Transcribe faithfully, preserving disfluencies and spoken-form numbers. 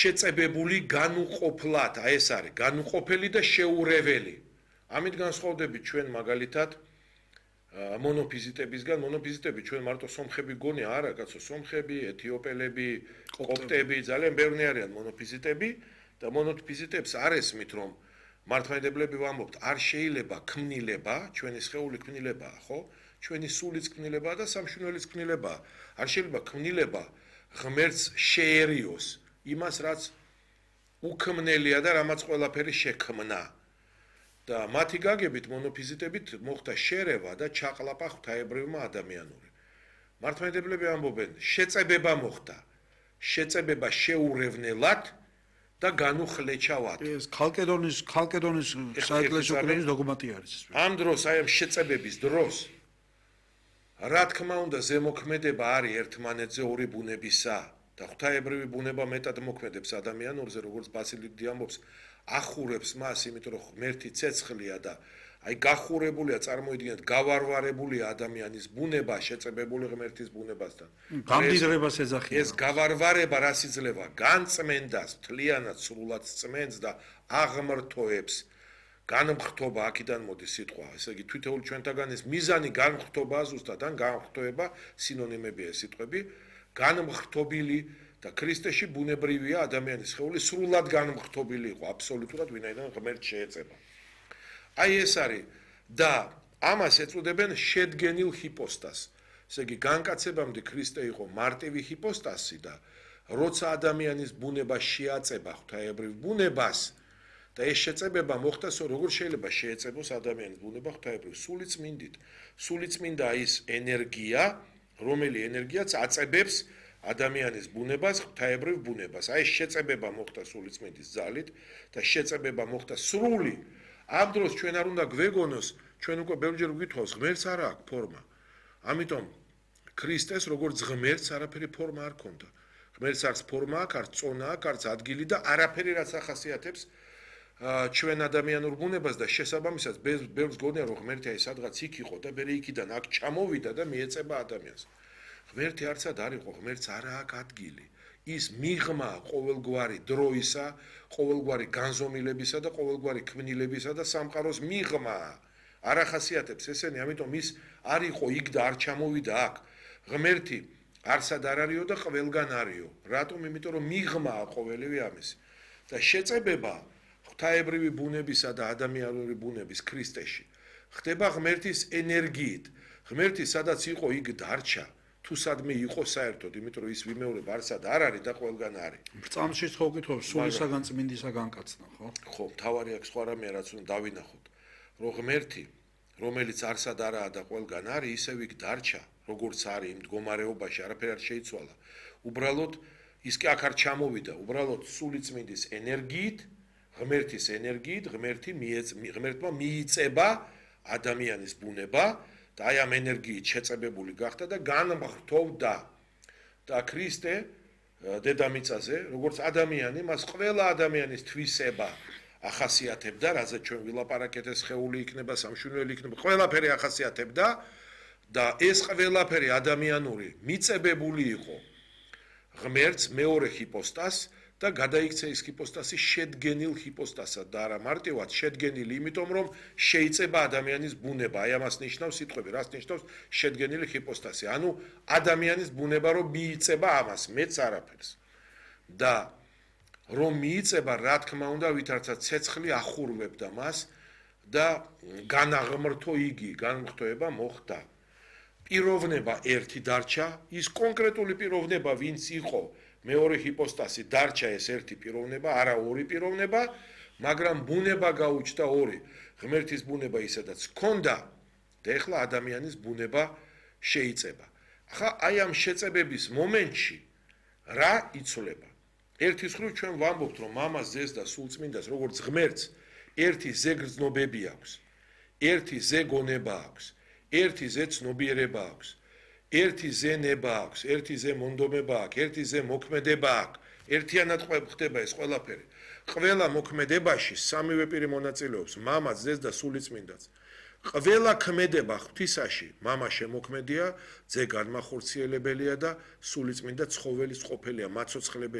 შეწებებული განუყოფლად, აი ეს არის, განუყოფელი და შეურეველი. ამით განსხვავდებით ჩვენ მაგალითად მონოფიზიტებისგან, მონოფიზიტები ჩვენ მარტო სომხები გონია, არა, კაცო, სომხები, ეთიოპელები, კოპტები, ძალიან ბევრი არიან მონოფიზიტები და მონოფიზიტებს არ ესმით, რომ მართლმადიდებლები ვამბობთ, არ შეიძლება ქმნილება, ჩვენი სხეული ქმნილებაა, ხო? ჩვენი სულიც ქმნილებაა და სამშვენელიც ქმნილებაა. არ შეიძლება ქმნილება ღმერთს შეერიოს იმას, რაც უქმნელია და რამაც ყველაფერი შექმნა. და მათი გაგებით მონოფიზიტებით მოხდა შერევა და ჩაყლაპა ღვთაებრივმა ადამიანური. მართლმადიდებლები ამბობენ, შეწებება მოხდა, შეწებება შეურევნელად და განუხლეჩავად. ეს ქალკედონის ქალკედონის საეკლესიო კრების დოგმატი არის. ამ დროს, აი ამ შეწებების დროს, რა თქმა უნდა, ზემოქმედება არის ერთმანეთზე ორი ბუნებისა და ღვთაებრივი ბუნება მეტად მოქმედებს ადამიანურზე, როგორც ბასილი დიდი ამბობს, ახურებს მას, იმიტომ რომ ღმერთი ცეცხლია და აი გახურებულია, წარმოიდგინეთ, გავარვარებულია ადამიანის ბუნება შეწებებული ღმერთის ბუნებასთან. გამდიდრებას ეძახიან. ეს გავარვარება რას იძლევა? განწმენდას, მთლიანად სრულად წმენს და აღმრთოებს. განმხრთობა აქედან მოდის სიტყვა, ესე იგი თვითეული ჩვენთაგან ეს მიზანი განმხრთობაა ზუსტად, ან განმხრთოება სინონიმებია ეს სიტყვები, განმხრთობილი და ქრისტეში ბუნებრივია ადამიანის სხეული სრულად განმხრთობილი იყო აბსოლუტურად ვინაიდან ღმერთს შეეწება. აი ეს არის და ამას ეწოდებენ შედგენილ ჰიპოსტასს. ესე იგი განკაცებამდე ქრისტე იყო მარტივი ჰიპოსტასი და როცა ადამიანის ბუნება შეაწება ღვთაებრივ ბუნებას და ეს შეწებება მოხდა, როგორ შეიძლება შეეწებოს ადამიანის ბუნება ღვთაებრივ სულიწმინდით. სულიწმინდა ის ენერგია, რომელი ენერგიაც აწებებს ადამიანის ბუნებას, ღვთაებრივ ბუნებას. აი ეს შეწებება მოხდა სულიწმინდის ძალით და შეწებება მოხდა სრული. ამ დროს ჩვენ არ უნდა გვეგონოს, ჩვენ უკვე ბევრჯერ ვკითხავს, ღმერთს არ აქვს ფორმა. ამიტომ ქრისტეს როგორც ღმერთს არაფერი ფორმა არ ქონდა. ღმერთს არც ფორმა აქვს, არც წონა აქვს, არც ადგილი და არაფერი რაც ახასიათებს ჩვენ ადამიანურ ბუნებას და შესაბამისად ბევრს გონია რომ ღმერთი აი სადღაც იქ იყო და მე იქიდან აქ ჩამოვიდა და მიეწება ადამიანს. ღმერთი არცად არ იყო, ღმერთს არ აქვს ადგილი. ის მიღმა ყოველგვარი დროისა, ყოველგვარი განზომილებისა და ყოველგვარი ქმნილებისა და სამყაროს მიღმა. არ ახასიათებს ესენი, ამიტომ ის არ იყო იქ და არ ჩამოვიდა აქ. ღმერთი არსად არ არისო და ყველგან არისო. რატომ? იმიტომ რომ მიღმა ყოველივე ამისი. და შეწებება ღვთაებრივი ბუნებისა და ადამიანური ბუნების ქრისტეში ხდება ღმერთის ენერგიით. ღმერთი სადაც იყო იქ დარჩა, თუ სადმე იყო საერთოდ, იმიტომ რომ ის ვიმეორებ არსად არ არის და ყველგან არის. ბრძანში ხო ვკითხავს, სულისაგან წმინდისაგან კაცნა, ხო? ხო, თავარი აქვს სხვა რამე რაც უნდა დავინახოთ, რომ ღმერთი, რომელიც არსად არაა და ყველგან არის, ისევ იქ დარჩა, როგორც არის იმ მდგომარეობაში, არაფერი არ შეიცვალა. უბრალოდ ის კი აქ არ ჩამოვიდა, უბრალოდ სულიწმინდის ენერგიით, ღმერთის ენერგიით, ღმერთი ღმერთმა მიიწება ადამიანის ბუნება და აი ამ ენერგიით შეწებებული გახდა და განმხრთოვდა. და ქრისტე დედამიწაზე, როგორც ადამიანი, მას ყველა ადამიანის თვისება ახასიათებდა, რაზეც ჩვენ ვილაპარაკეთ, ეს სხეული იქნება, სამშვენელი იქნება, ყველაფერი ახასიათებდა და ეს ყველაფერი ადამიანური მიწებებული იყო ღმერთს მეორე ჰიპოსტასს და გადაიქცა ის ჰიპოსტასი შედგენილ ჰიპოსტასად და არა მარტივად შედგენილი, იმიტომ რომ შეიწება ადამიანის ბუნება. აი ამას ნიშნავს სიტყვები, რას ნიშნავს შედგენილი ჰიპოსტასი. ანუ ადამიანის ბუნება რომ მიიწება ამას, მეც არაფერს. და რომ მიიწება, რა თქმა უნდა, ვითარცა ცეცხლი ახურვებდა მას და განაღმრთო იგი, განმხრთოება მოხდა. პიროვნება ერთი დარჩა, ის კონკრეტული პიროვნება, ვინც იყო მეორე ჰიპოსტასი დარჩა ეს ერთი პიროვნება, არა ორი პიროვნება, მაგრამ ბუნება გაუჩნდა ორი. ღმერთის ბუნება ისედაც ჰქონდა და ეხლა ადამიანის ბუნება შეიწება. ახლა აი ამ შეწებების მომენტში რა იცვლება? ერთის მხრივ ჩვენ ვამბობთ, რომ მამას, ძეს და სულწმინდას, როგორც ღმერთს, ერთი ზეგრძნობები აქვს, ერთი ზეგონება აქვს, ერთი ზეცნობიერება აქვს. ერთი ზენება აქვს, ერთი ზე მონდომება აქვს, ერთი ზე მოქმედება აქვს. ერთიანად ხდება ეს ყველაფერი. ყველა მოქმედებაში სამივე პირი მონაწილეობს, მამა, ძეს და სულიწმინდაც. ყველა ქმედება ღვთისაში, მამა შემოქმედია, ძე განმახორციელებელია და სულიწმინდა ცხოველის ყოფილია, მაცოცხლებელია.